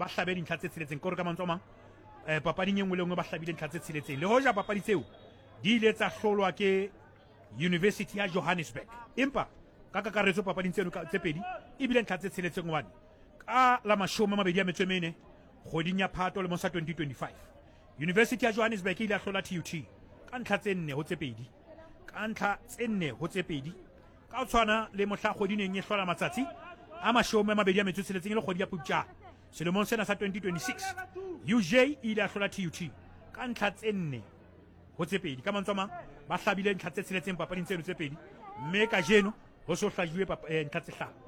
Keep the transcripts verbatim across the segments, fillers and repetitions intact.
ba hlabe dintlha tse tsheletseng. Ke hore ka mantswe a mang, eh, papading e nngwe le nngwe ba hlabile ntlha tse tsheletseng. Le hoja papadi tseo di ile tsa hlolwa ke University ya Johannesburg, empa ka kakaretso papading tseno tse pedi ebile ntlha tse tsheletseng, hobane ka la mashome a mabedi a metso e mene kgweding ya Phato lemong sa twenty twenty-five University ya Johannesburg e ile ya hlola T U T ka ntlha tse nne ho tse pedi, ka ntlha tse nne ho tse pedi. Ka ho tshwana le mohla kgwedi neng e hlola matsatsi a mashome a mabedi a metso e tsheletseng e le kgwedi ya Phupjane selemong sena sa twenty twenty-six, U J e ile ya hlola T U T ka ntlha tse nne ho tse pedi. Ka mantswe a mang, ba hlabile ntlha tse tsheletseng papading tseno tse pedi, mme kajeno ho so hlajuwe ntlha tse hlano.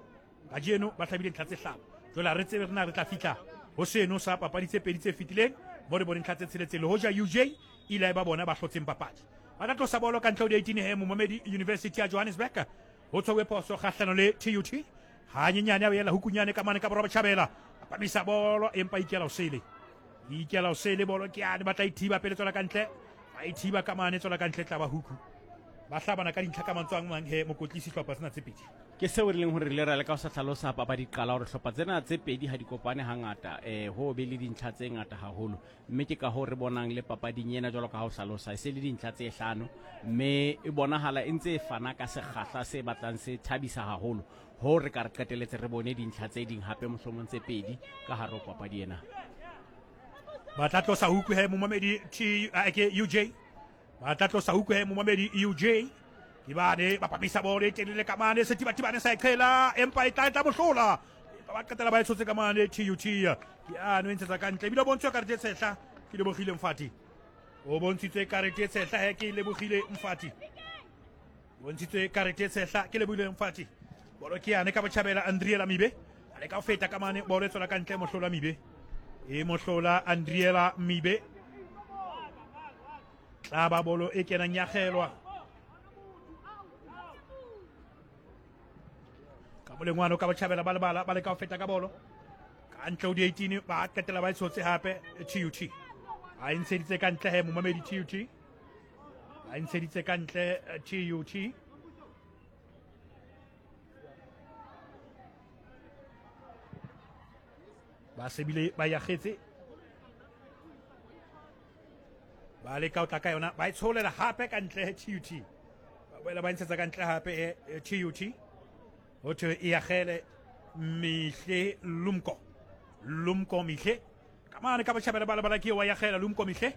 Kajeno ba hlabile ntlha tse hlano. Jwale ha re tsebe re na re tla fihla ho seno sa papadi tse pedi tse fetileng mo re boneng ntlha tse tsheletseng, le hoja U J e ile ya ba bona ba hlotseng papadi. Ba tla tlosa bolo ka ntle ho di-eighteen he momamedi University ya Johannesburg ho tshwauwe phoso kgahlano le T U T. Hanyenyane a ela hukunyane ka mane ka borwa botjhabela, a pamisa bolo empa ikela osele, ikela osele bolo ke yane, ba tla ithiba pele tswela ka ntle, ba ithiba ka mane tswela ka ntle, tla ba huku. Ba hlabana ka dintlha ka mantswe a mang he mokotlisi hlopha sena tse pedi. Ke seo re leng hore re ile ra leka ho sa hlalosa papadi qala hore hlopha tsena tse pedi ha di kopane hangata, eh ho be le dintlha tse ngata haholo, mme ke ka hoo re bonang le papading ena jwalo ka ha o hlalosa e se le dintlha tse hlano, mme e bonahala e ntse e fana ka sekgahla se batlang se thabisa haholo ho re ka re qeteletse re bone dintlha tse ding hape mohlomong tse pedi ka hare ho papadi ena. Ba tla tlosa huku he momamedi T ke U J. Ba tla tlosa huku he momamedi U J. Ke bane ba pamisa bolo e telele ka mane, Sethibathibane sa e qhela empa e tla e tla mohlola. Empa ba qetela ba e tshotse ka mane T U T. Ke ano e ntshetsa ka ntle, ebile o bontshwe karete e tshehla ke Lebogile Mfati. O bontshitswe karete e tshehla he ke Lebogile Mfati. Bontshitswe karete e tshehla ke Lebogile Mfati. Bolo ke yane ka botjhabela Andriela Mibe. A leka ho feta ka mane, bolo e tswela ka ntle, mohlola Mibe. E mohlola Andriela Mibe. Tla ba bolo e kenang ya kgelwa. Ka molengwano ka botjhabela ba lebala, ba leka ho feta ka bolo. Ka ntle ho di-eighteen ba qetela ba e tshotse hape T U T. Ba e ntsheditse ka ntle he momamedi T U T. Ba e ntsheditse ka ntle T U T. Ba sebile ba yakgetse. Ba leka ho tla ka yona, ba e tsholela hape ka ntle T U T. Ba boela ba ntshetsa ka ntle hape T U T. Ho thwe e akgele Mihle Lumko. Lumko Mihle. Ka mane ka botjhabela ba lebala ke wa yakgela Lumko Mihle.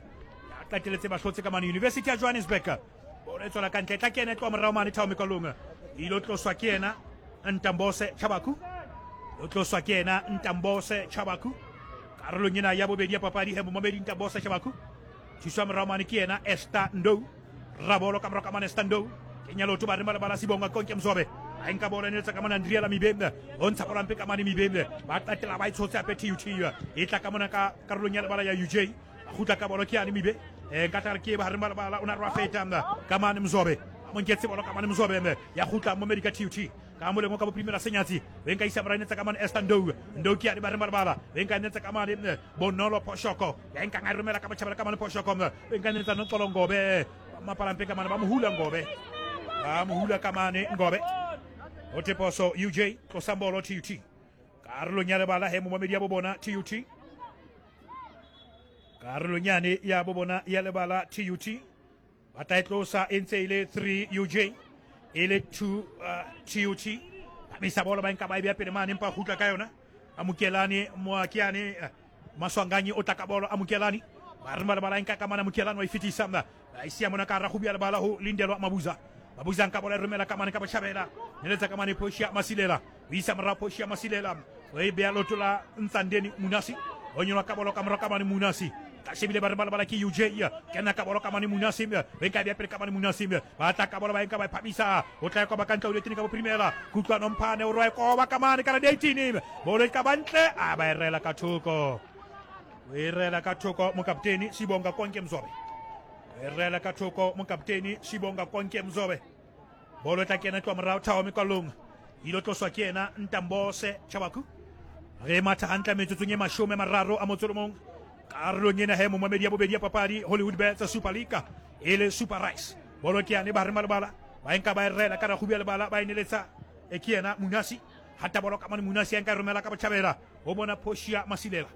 Ya qeteletse ba hlotse ka mane University ya Johannesburg. Bolo e tswela ka ntle, tla kena e tloha morao mane Thao Mekalong. E ilo tloswa ke yena Ntambose Chabaku. O tloswa ke yena Ntambose Chabaku. Karolong ena ya bobedi ya papadi he momamedi Ntambose Chabaku. Thuswa morao mane ke yena Esther Ndou. Rabolo ka morao ka mane Esther Ndou. Kenya leoto ba re malebala Sibonga Konke Mzobe. A nka bolo e neletsa ka mane Andriela Mibe. O ntsha bolo hampe ka mane Mibe. Ba qetela ba e tshotse hape T U T. E tla ka mona ka karolong ya lebala ya U J. Ba kgutla ka bolo ke yane Mibe. E nka tla re ke ba re malebala o na re wa feta ka mane Mzobe. A mo nketse bolo ka mane Mzobe. Ya kgutla momedi ka T U T. Ka molemo ka boprimela Senyatsi. O nka isa morao netsa ka mane Esther Ndou. Ndou ke yane ba re malebala. O nka netsa ka mane Bonolo Phoshoko. Ya nka nga romela ka botjhabela ka mane Phoshoko. O nka netsa Noxolo Ngobe. Mapalampe ka mane ba mohula Ngobe. Ba mohula ka mane Ngobe. Ho theposo U J tlosang bolo T U T. Karolong ya lebala he momamedi ya bobona T U T. Karolong yane ya bobona ya lebala T U T. Ba tla e tlosa e ntse e le three U J. E le two uh, T U T. Pamisa bolo ba nka ba e beha pele mane empa kgutla ka yona. Amokelane Moakiane Maswanganyi o tla ka bolo Amokelane. Ba re lebala nka ka mane Amokelane wa e fetisa. Ba e siya mona ka hara kgubu ya lebala ho Lindelwa Mabuza. Mabuza nka bolo e romela ka mane ka botjhabela. Neletsa ka mane Portia Masilela. O isa morao Portia Masilela. O e beha leoto la Ntsandeni Munasi. O nyolwa ka bolo ka morao ka mane Munasi. Ka shebile ba re balabala ke U J. Kena ka bolo ka mane Munasi. Re nka bea pele ka mane Munasi. Ba tla ka bolo ba nka ba e phamisa. O tla e koba ka ntle ho dietini ka bophirimela. Kutlwano Mphane o rwa e koba ka mane ka la dietini. Bolo e ka ba ntle, a ba e rela ka thoko. O e rela ka thoko mokapteni Sibonga Konke Mzobe. O e rela ka thoko mokapteni Sibonga Konke Mzobe. Bolo e tla kena tloha morao Thao Mekalong. Ilo tloswa ke yena Ntambose Chabaku. Re matha hantle metsotsong e mashome a mararo a motso o mong. Karolong ena he momamedi ya bobedi ya papadi Hollywood Bets Super League e le Super Rice. Bolo ke yane ba re malebala ba nka ba e rela ka rakgubu ya lebala ba e neletsa e ke yena Munasi. Hata bolo ka mane Munasi ya nka e romela ka botjhabela ho bona Portia Masilela.